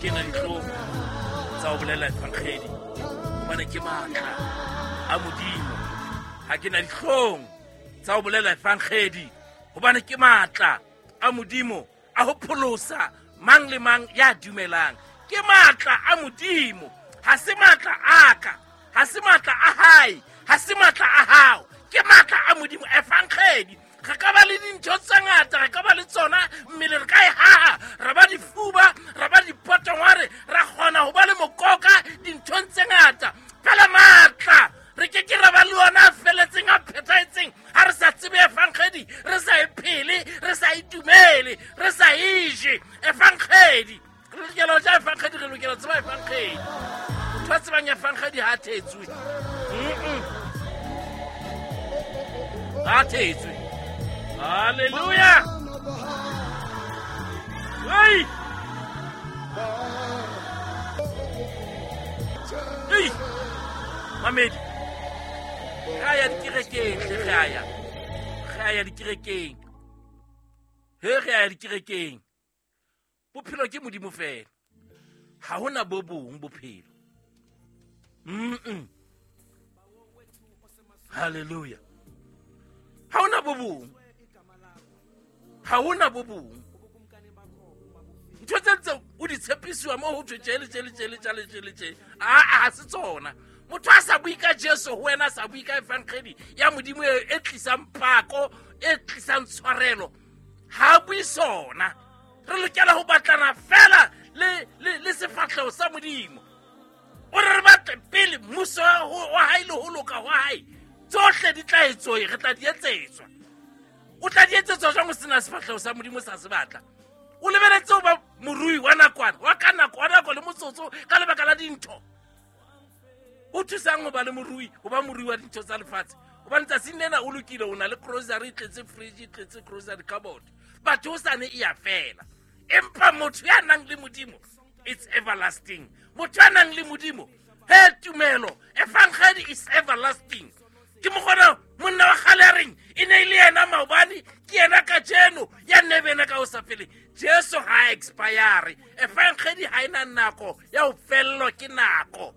Ke na dihlong tsa ho bolela evangeli, hobane ke matla a Modimo. Ha ke na dihlong tsa ho bolela evangeli, hobane ke matla a Modimo a ho pholosa mang le mang ya dumelang. Ke matla a Modimo, ha se matla a ka, ha se matla a hae, ha se matla a hao, ke matla a Modimo. Evangeli, re ka ba le dintho tse ngata, re ka ba le tsona mmele, re ka e haha, ra ba difuba, ra ba dipotongware, ra kgona ho ba le mokoka dinthong tse ngata. Fela matla re ke ke ra ba le ona a feletseng, a phethahetseng, ha re sa tsebe evangeli, re sa e phele, re sa e dumele, re sa e je. Evangeli re lokela ho ja evangeli, re lokela ho tseba evangeli. Motho a tsebang evangeli ha a thetswe. Ha a thetswe. Halleluja. Hei! Hei! Mamedi, re a ya dikerekeng hle, re a ya. Re a ya dikerekeng. He, re a ya dikerekeng. Bophelo ke Modimo fela. Ha hona bo bong bophelo. Hallelujah. Ha hona bo bong. Ha hona bo bong. Ntho tse ntse o di tshepisiwa mo ho thwe tje le tje le tje le tje le tje le tje. Aa, ha se tsona. Motho a sa bue ka Jesu ho wena, a sa bue ka evangeli ya Modimo e tlisang pako, e tlisang tshwarelo, ha a bue sona. Re lokela ho batlana fela le sefahleho sa Modimo. O re re batle pele mmuso wa hae le ho loka hwa hae, tsohle di tla etsoe, re tla di etsetswa. O tla di etsetswa jwang o sena sefahleho sa Modimo sa se batla? O lebeletse ho ba morui wa nakwana, wa ka nako, wa nako le motsotso ka lebaka la dintho. O thusang ho ba le morui, ho ba morui wa dintho tsa lefatshe? Hobane tsatsing lena o lokile, o na le grocery, e tletse fridge, e tletse grocery cupboard. Batho o sane e ya fela. Empa motho ya nang le Modimo, it's everlasting. Motho ya nang le Modimo, he tumelo, evangeli is everlasting. Ke mokgona monna wa kgale a reng, e ne e le yena maobane, ke yena kajeno, ya nne be yena ka ho sa feleng. Jesu ha a expire. Evangeli ha e na nako ya ho fellwa ke nako.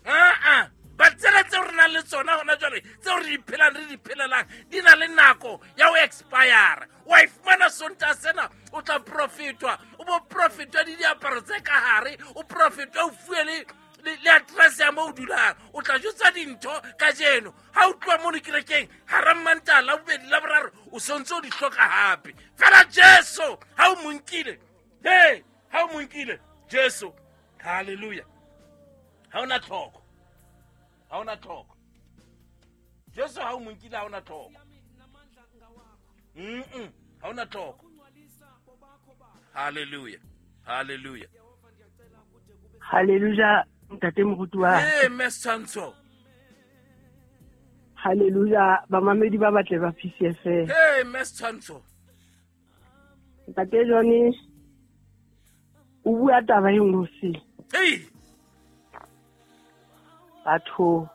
Aa, ba tsela tseo re nang le tsona hona jwale, tseo re di phelang, re di phelelang, di na le nako ya ho expire. Wa e fumana Sontaha sena, o tla profitwa, o bo profitwa le diaparo tse ka hare, o profitwa o fuwe le address ya moo o dulang. O tla jwetsa dintho kajeno. Ha o tloha mono kerekeng, hara Mantaha, Labobedi, Laboraro, o sontse o di hloka hape. Fela Jesu ha o mo nkile, he, ha o mo nkile Jesu, hallelujah, ha ona tlhoko, ha ona tlhoko. Jesu ha o mo nkile, ha ona tlhoko. Ha ona tlhoko. Hallelujah, hallelujah. Hallelujah, ntate moruti wa. Hey, Mme Setshwantsho. Hallelujah, bamamedi ba batle ba PCFM. Hey, Mme Setshwantsho. Ntate Johnny, o bua taba e nngwe se. Hey. Batho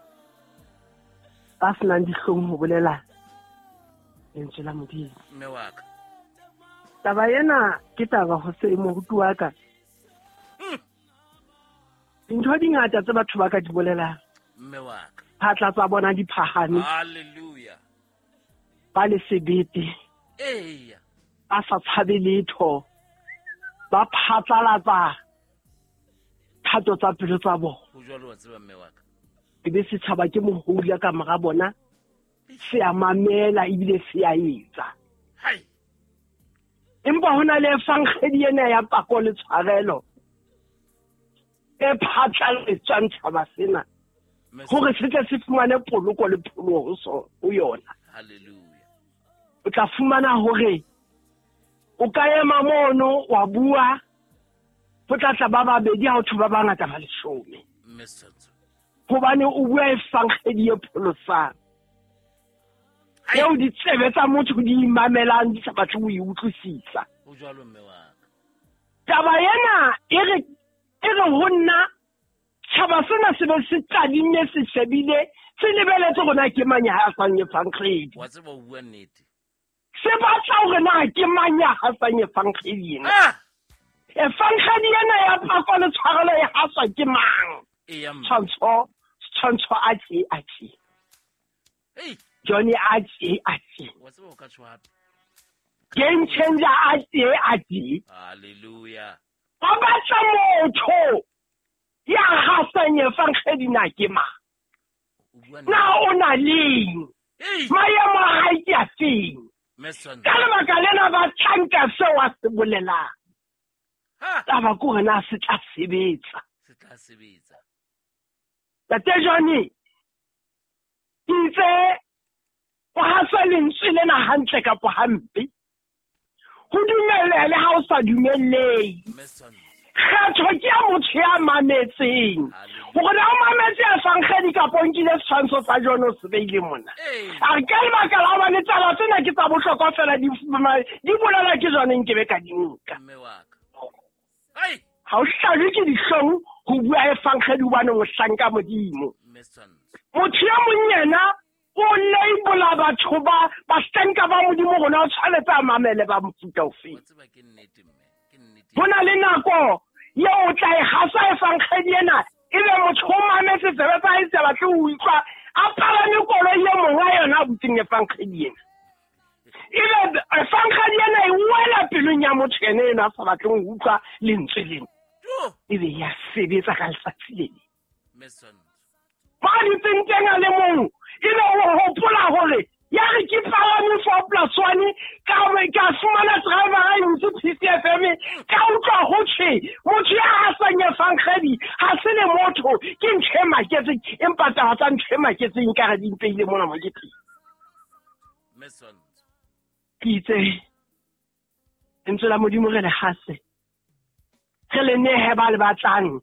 ba senang dihlong ho bolela lentswe la Modimo. Mme wa ka. Taba ena ke taba ho se moruti wa ka. Dintho di ngata tse batho ba ka di bolelang. Mme wa ka. Phatla tsa bona di phahame. Hallelujah. Ba le sebete. Eya. Ba sa tshabe letho. Ba phatlalatsa thato tsa pelo tsa bona. Ho jwalo wa tseba mme wa ka. E be setjhaba ke mohodi ka mora bona, se a mamela ebile se a etsa. Hai. Empa ho na le evangeli ena ya pako le tshwarelo e phatlaletswang tjhaba sena hore se tle se fumane poloko le pholoho ho yona. Hallelujah. O tla fumana hore o ka ema mono wa bua, ho tla tla ba babedi ha ho thwe ba bangata ba leshome. Mme Setshwantsho. Hobane o bua evangeli e pholosang. Ai. Eo ditsebe tsa motho di imamelang di sa batle ho e utlwisisa. Ho jwalo mme wa ka. Taba ena e re ho nna tjhaba sena se be se tadimme, se shebile, se lebeletse hore na ke mang ya hasang evangeli. Wa tseba o bua nnete. Se batla hore na ke mang ya hasang evangeli ena. Efangedi ena ya pako le tshwarelo e haswa ke mang? Tshwantsho a tse a tse. Johnny a tse a tse. Game changer a tse a tse. Hallelujah. Ba batla motho ya hasang efangedi na ke mang? Na o na leng? Maemo a hae ke a feng? Ka lebaka lena ba tlanka seo a se bolelang. Taba ke hore na se tla sebetsa. Se tla sebetsa. Tate Johnny, ke itse o hasa lentswe lena hantle kapa hampe. Ho dumelle le ha o sa dumellehe. Kgetho ke ya motho ya mametseng. Hore na o mametse efangedi kapa o nkile setshwantsho sa John o se beile mona. A re ka lebaka la hobane taba tsena ke tsa bohlokwa fela di bolelwa ke John nkebe ka di nka. Ha o hlajwe ke dihlong ho bua efangedi hobane o hlanka Modimo. Motho ya mong yena o labola batho ba bahlanka ba Modimo rona o tshwanetse a mamele ba mofuta ofe. Ho na le nako eo o tla e hasa efangedi ena ebe motho o mametse tsebe tsa hae tsa batle ho utlwa a palame koloi e mong a yona a butseng efangedi ena. Ebe efangedi ena e wela pelong ya motho ene ena a sa batleng ho utlwa lentswe lena. Ebe ya sebetsa ka letsatsi le leng. Ba dutseng teng a le mong ebe o hopola hore ya re ke palame 4+1 ka fumana driver a ntse PCFM ka utlwa ho tjhe motho ya hasang efangedi ha se le motho ke ntho e maketseng empa taba tsa ntho e maketseng ka re di mpeile mona mo ke teng. Ke itse lentswe la Modimo re le hase, re le nehe ba le batlang,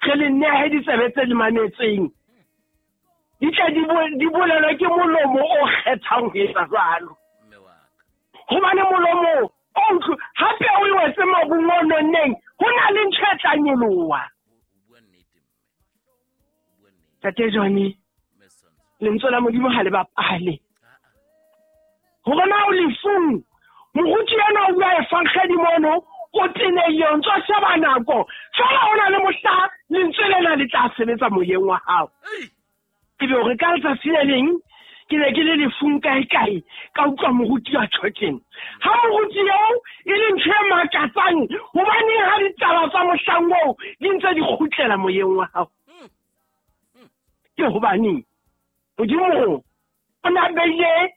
re le nehe ditsebe tse le mametseng, di tle di bolelwe ke molomo o kgethang ho etsa jwalo. Hobane molomo o utlwe hape o wetse mobung o nonneng, ho na le ntho e tla nyoloha. Tate Johnny, lentswe la Modimo ha le bapale. Hore na o lefung, moruti ena o bua efangedi mono, o tenehile, o ntso sheba nako. Fela ho na le mohla lentswe lena le tla sebetsa moyeng wa hao. Ke be hore ka letsatsi le leng ke ne ke le lefung kae-kae, ka utlwa moruti a tjho. Ha moruti eo e le ntho e makatsang, hobaneng ha ditaba tsa mohlang oo di ntse di kgutlela moyeng wa hao? Ke hobaneng Modimo o na beile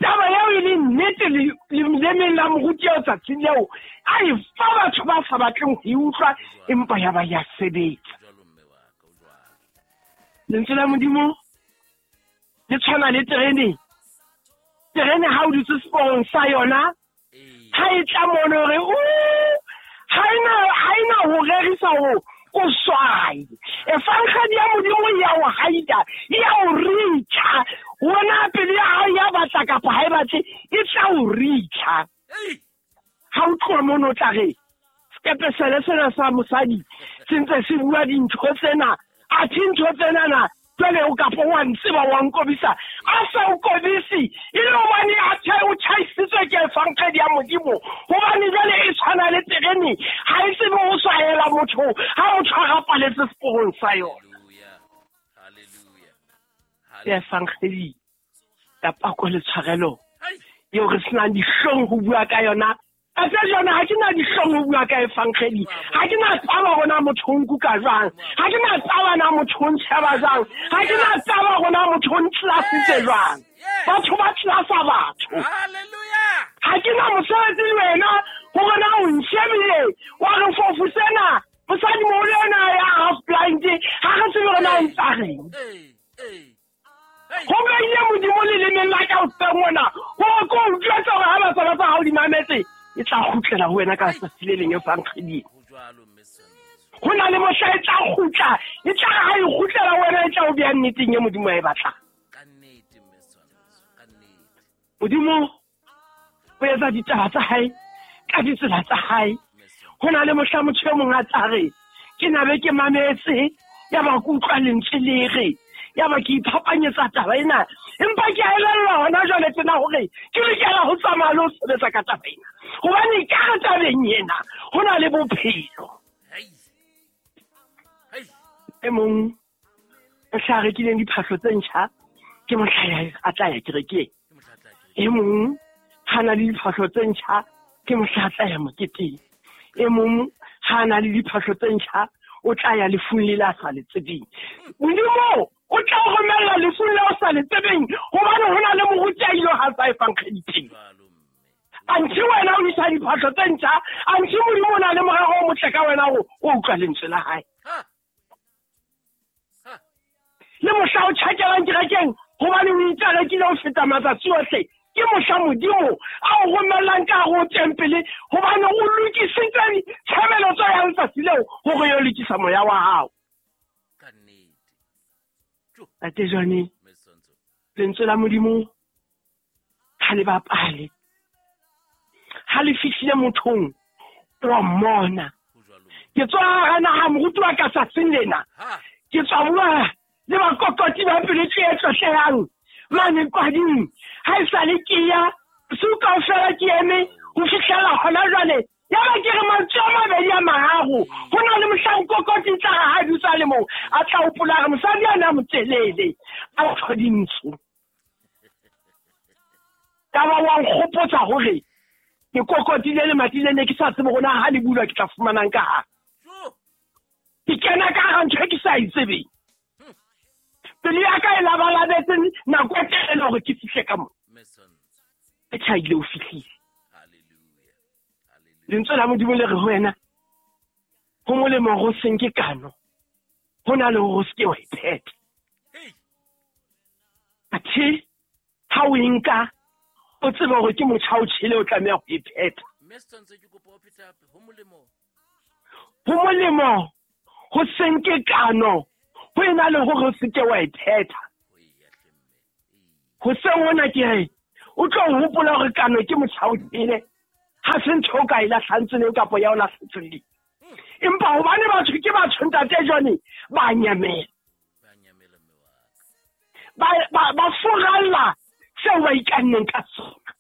taba eo e le nnete lelemeng la moruti eo tsatsing leo, a e fa batho ba sa batleng ho e utlwa, empa ya ba ya sebetsa. Lentswe la Modimo le tshwana le terene. Terene ha o dutse seporong sa yona, ha e tla mono hore ha ena ho rerisa ho o swai. Efangedi ya Modimo ya o haida, ya o richa. Wena pele ya hao ya batla kapa ha e batle, e tla o richa. Ha o tloha mono o tla re sekepe sele sena sa mosadi se ntse se bua dintho tsena, athe ntho tsenana jwale o kapa wa ntseba wa nkobisa. A sa o kobisi e le hobane a o tjhaisitswe ke efangedi ya Modimo. Hobane jwale e tshwana le terene, ha e tsebe ho swahela motho ha motho a rapaletse seporong sa yona. Ke efangedi ya pako le tshwarelo eo re senang dihlong ho bua ka yona. Ate jona ha ke na dihlong ho bua ka efangedi. Ha ke na taba hore motho o nkuka jwang, ha ke na taba na motho o ntsheba jwang, ha ke na taba hore motho o ntlasitse jwang. Batho ba tlasa batho. Hallelujah. Ha ke na mosebetsi le wena hore na o ntshebile wa re fofu sena mosadi moholo ena ya half blind, ha re tsebe hore na o ntsa reng. Ho beile Modimo lelemeng la ka hoseng mona hore ke o utlwetse hore ha batswala tsa hao di mametse, e tla kgutlela ho wena ka letsatsi le leng efangeding. Ho na le mohla e tla kgutla, e tla ha e kgutlela ho wena e tla o beha nneteng e Modimo a e batlang. Modimo o etsa ditaba tsa hae ka ditsela tsa hae. Ho na le mohla motho e mong a tla re ke nabe ke mametse, ya ba ke utlwa lentswe le re, ya ba ke iphapanyetsa taba ena. Empa ke a elellwa hona jwale tsena hore ke lokela ho tsamaya le ho sebetsa ka taba ena. Hobane ka re tabeng ena ho na le bophelo. E mong o tla rekileng diphahlo tse ntjha ke mohla a tla ya kerekeng. E mong ha na le diphahlo tse ntjha ke mohla a tla ya moketeng. E mong ha na le diphahlo tse ntjha o tla ya lefung le la sa le tsebeng. Modimo o tla o romella lefung le o sa le tsebeng hobane ho na le moruti a ile ha sa e fang credit. Anthe wena o isa diphahlo tse ntjha, anthe Modimo o na le morero o motle ka wena o utlwa lentswe la hae. Le mohla o tjhakelang kerekeng hobane o itse a rekile ho feta matsatsi ohle, ke mohla Modimo a o romellang ka hare ho tempele hobane o lokisitse tshebeletso ya letsatsi leo hore yo lokisa moya wa hao. Ntate Johnny, lentswe la Modimo ha le bapale. Ha le fihlile mothong wa mmona. Ke tswa hara naha moruti wa ka tsatsing lena. Ke tswa bua le bakokoti ba pelo tse tlotlehang mane kwading. Ha e sale ke ya bosiu kaofela ke eme ho fihlela hona jwale. Ya ba ke re mantswe a mabedi a mararo. Ho na le mohlang kokoti tla re ha dutse a le mong a tla hopola hore mosadi a na motelele a tho dintsho. Ka ba wa nkgopotsa hore ke kokotile lemati le ne ke sa tsebe hore na ha le bulwa ke tla fumanang ka hare. Ke kena ka hara ntho e ke sa e tsebeng. Pelo ya ka e labalabetse nako e telele hore ke fihle ka moo. E tjhaile o fihlile. Lentswe la Modimo le re ho wena, ho molemo hore o se nke kano, ho na le hore o se ke wa e phetha. Athe ha o e nka, o tsebe hore ke motjha o tjhele o tlameha ho e phetha. Ho molemo ho se nke kano, ho ena le hore o se ke wa e phetha. Hoseng hona ke re, o tlo hopola hore kano ke motjha o tjhele, ha se ntho o ka e lahlang tseleng kapa ya o lahla tseleng. Empa hobane batho ke batho ntate Johnny, ba nyamela. Ba furalla seo ba ikanneng ka sona.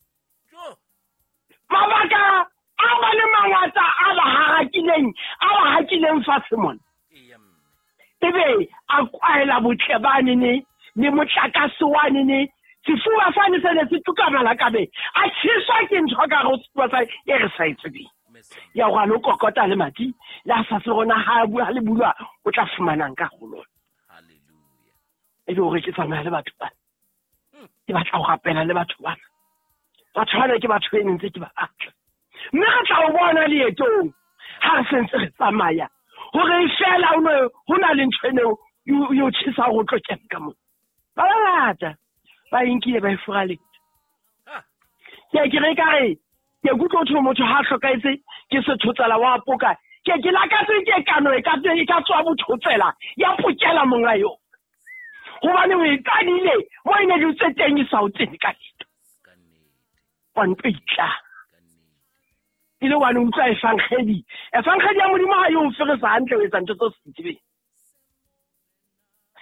Mabaka a ba le mangata a ba hakileng fatshe mona. Ebe a kwaela botle banene le motlakase wanene, sefuba sane se ne se tuka malakabe, a tjheswa ke ntho ka hare ho sefuba sa e re sa e tsebeng. Ya hore a lo kokota lemati le a sa se rona ha bua le bulwa o tla fumanang ka ho lona. Ebe hore ke tsamaya le batho bana. Ke batla ho rapela le batho bana. Batho bana ke batho e ntse ke ba batla. Mme re tla o bona leetong ha re sentse re tsamaya hore fela ho na le ntho eno yo tjhesa hore o tlo kena ka moo. Ba bangata ba inkile ba e furaletse. Ke ke re ka re ke kutlwa ho motho ha hlokahetse ke sethotsela wa poka. Ke ke lakatse ke kano e ka tswa bothotsela ya pokela monga yo. Hobane o e qadile mo e ne dutse teng e sa o tsene ka letho. Wa ntlo itla. Ile wa no utlwa evangeli. Evangeli ya Modimo ha yo o feresa hantle o etsa ntho tse sa tsebeng.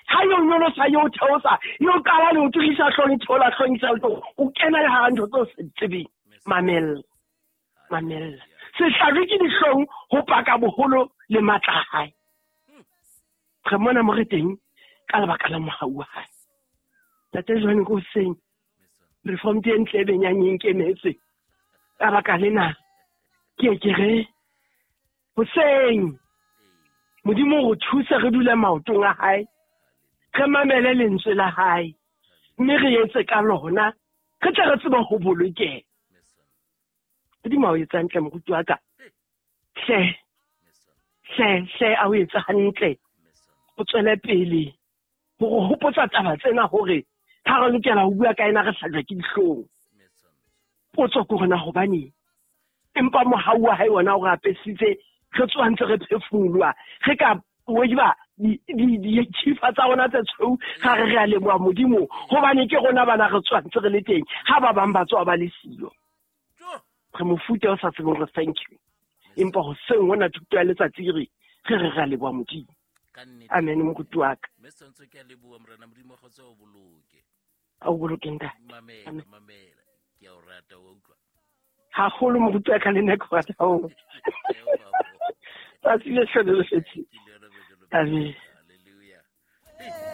Ha yo nyolosa yo theosa yo qala le o tlohisa hlong thola hlong sa o kena le hara ntho tse sa tsebeng. Mamella. Mamella. Se hlajwe ke dihlong ho paka boholo le matla a hae. Re mona mo re teng ka lebaka la mohau wa hae. Ntate Johnny ko hoseng reform e ntle e benyang e nkemetse. Ka baka lena ke ke re hoseng Modimo o re thuse re dule maotong a hae, re mamele lentswe la hae, mme re etse ka lona, re tle re tsebe ho bolokeha. Modimo a o etsa hantle moruti wa ka. Hle, hle, hle a o etsa hantle. O tswele pele hore hopotsa taba tsena hore ha re lokela ho bua ka ena re hlajwa ke dihlong. Potso ke hore na hobaneng? Empa mohau wa hae ona o re apesitse, re tswa ntse re phefumoloha, re ka weba dithifa tsa rona tse tshweu, ga re re a leboha Modimo hobane ke rona bana re tswa ntse re le teng, ha ba bang ba tswa ba le siyo. Re mofuta o sa tsebeng re thank you. Empa hoseng hona thuto ya letsatsi re re re a leboha Modimo. Amen moruti wa ka. Mme Sentso ke a leboha Morena Modimo kgotsa o boloke. A o boloke ntate. Mamela, mamela. Ke a o rata, wa utlwa. Haholo moruti wa ka le nna ke rata haholo. Tsatsi le hlole le fetile. Amen.